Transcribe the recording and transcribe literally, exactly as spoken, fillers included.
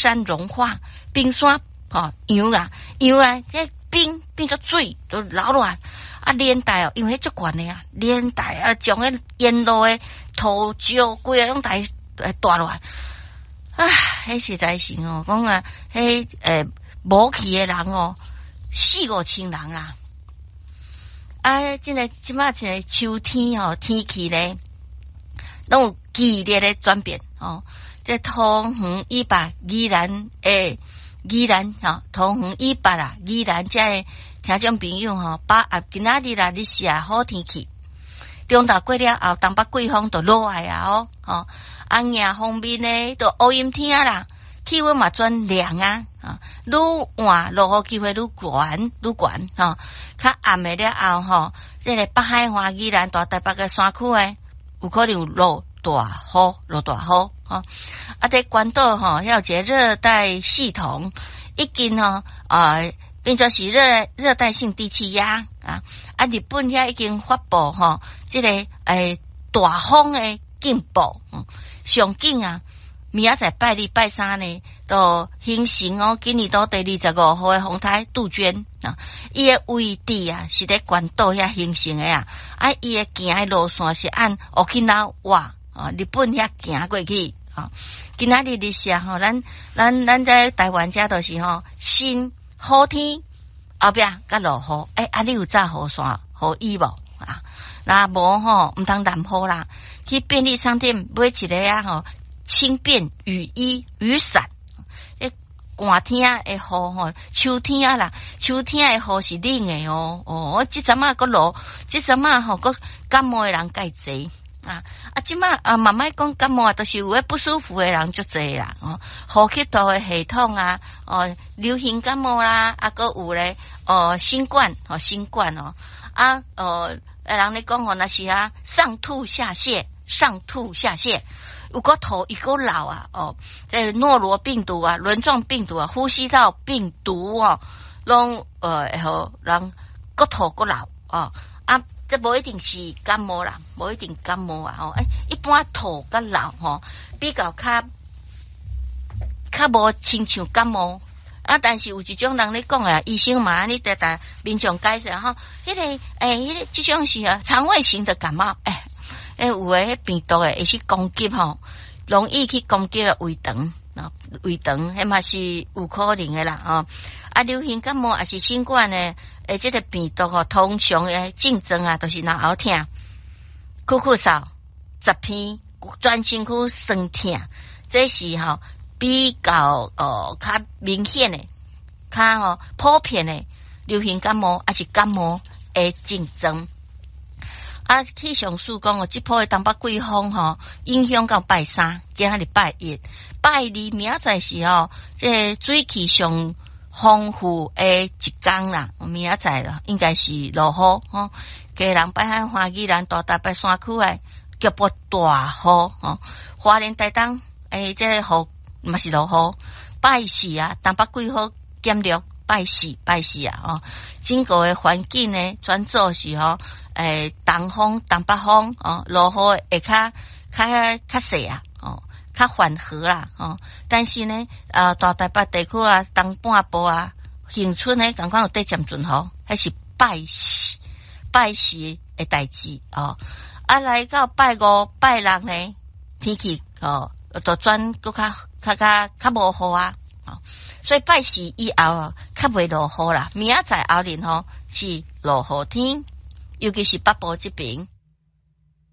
山融化，冰山吼溶啊溶啊，這冰變做水都流落來，啊連帶哦，因為彼足懸的啊，連帶啊將彼沿路的土石規个攏帶帶落來，啊，彼實在是哦，講啊，彼欸無去的人哦，四五千人啊！啊，這个這擺這个秋天吼，天氣咧，攏有劇烈的轉變哦。這桃園以北宜蘭欸，宜蘭吼，桃園以北啦，宜蘭遮的聽眾朋友吼，把握今仔日啦，日時啊好天氣，中晝過了後，東北季風就落來啊哦，吼，啊迎風面呢，就烏陰天啊啦，氣溫嘛轉涼啊，啊，愈晚落雨機會愈懸愈懸吼，較暗的了後吼，這个北海岸宜蘭大台北的山區的，有可能有落大雨，落大雨吼。啊，佇關島吼，遐有一个熱帶系統，已經吼啊變做是熱熱帶性低氣壓啊。啊，日本遐已經發布吼，這个欸大風的警報，上緊啊！明仔載拜二拜三呢，就形成哦，今年度第二十五號的風台杜鵑啊，伊的位置啊是佇關島遐形成的啊，啊，伊的行的路線是按沖繩啊，日本遐行過去啊。今仔日日時吼，咱咱咱在台灣遮都是吼，先好天，後壁閣落雨，欸，啊，你有紮雨傘、雨衣無啊？若無吼，毋通淋雨啦，去便利商店買一个啊吼。輕便雨衣、雨傘，這寒天的雨吼，秋天啊啦，秋天的雨是冷的哦。哦，我這陣仔閣落，這陣仔吼閣感冒的人蓋濟啊。啊，這擺啊，嘛莫講感冒啊，都是有彼不舒服的人足濟啦。哦，呼吸道的系統啊，哦，流行感冒啦，啊，閣有咧，哦，新冠，哦，新冠哦，啊，哦，人咧講哦，若是啊，上吐下瀉，上吐下瀉。有閣吐伊閣漏啊！哦，這諾羅病毒啊、輪狀病毒啊、呼吸道病毒哦，攏呃會予人閣吐閣漏哦。啊，這無一定是感冒啦，無一定感冒啊！吼，欸，一般吐佮漏吼，比較較較無親像感冒啊。但是有一種人咧講啊，醫生嘛按呢直直民眾解釋吼，彼個欸，彼个這種是啊腸胃型的感冒，欸。欸，有的彼病毒的會去攻擊吼，容易去攻擊胃腸啊，胃腸彼嘛是有可能的啦吼。啊，流行感冒抑是新冠的，欸，這个病毒吼，通常的症狀啊，就是咽喉疼、咳咳嗽、十片，全身軀酸疼，這是吼比較哦較明顯的、較吼普遍的流行感冒，抑是感冒的症狀。啊，氣象署講哦，這波的東北季風吼，影響到拜三，今仔日拜一、拜二，明仔載是吼，這个水汽上豐富的一工啦。明仔載啦，應該是落雨吼。基隆、北海岸、宜蘭、大台北山區的局部大雨吼。花蓮、台東，欸，這个雨嘛是落雨。拜四啊，東北季風減弱，拜四拜四啊，吼，整個的環境呢，轉做是吼。欸，東風、東北風哦，落雨會較較較細啊，哦，較緩和啦，哦。但是呢，啊，大台北地區啊，東半部啊，恆春呢，仝款有短暫陣雨，彼是拜四拜四的代誌哦。啊，來到拜五、拜六呢，天氣哦，就轉閣較較較較無雨啊，哦。所以拜四以後較袂落雨啦。明仔載後日吼是落雨天。尤其是北部這邊。